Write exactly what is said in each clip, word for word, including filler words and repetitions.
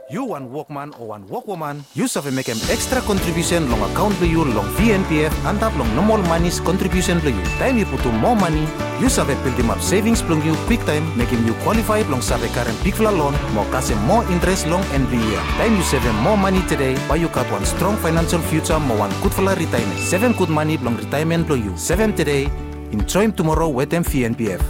Yu wan wokman o wan wokwoman, yu save mekem ekstra kontribiusen long akaon blong yu long V N P F antap long nomol manis kontribiusen blong yu. Taem yu putum moa mani, yu save bildimap sevings blong yu kwiktaem, mekem yu kwalifae blong save karem bigfala lon mo kasem moa interes long en blong yia. Taem yu sevem moa mani tede, bae yu gat wan strong faenansel fiuja mo wan gudfala ritaemen. Sevem gud mani blong ritaemen blong yu. Sevem tede, enjoem tumoro wetem V N P F.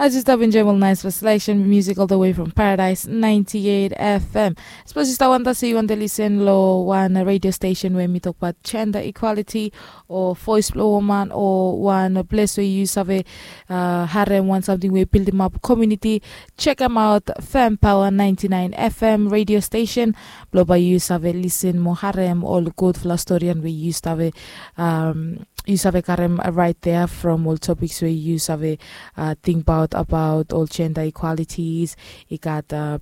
As yu stap enjoem ol nice selection music all the way from Paradise ninety-eight F M. Sapos yu stap wanda se yu wanta lisen long wan radio station we mi tokbaot gender equality o voice blong woman o wan ples we yu save uh, harem wan samting we bildimap community, check em out, Fam Power ninety-nine F M radio station. Blong bae yu save lisen mo harem ol gudfala storian we yu save um, yu save karem right there from ol topics we yu save uh, tingbaot abaot ol gender equalities. I gat uh,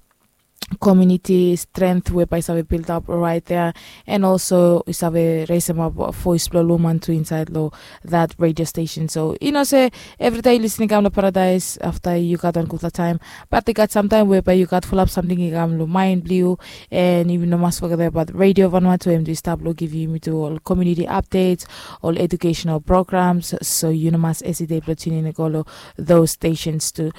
community strength we bae save build up right there, and also i save raisem up voice blong loman tu inside lo that radio station. So i no se everyday yu listening kam lo paradise after yu gat on gudfala time, but i gat sometime whereby yu gat full up something i kam lo mind blong yu, and yu no must forget about Radio Vanuatu em do stop lo give you to all community updates, all educational programs. So you no must hesitate lo tune in go lo those stations too.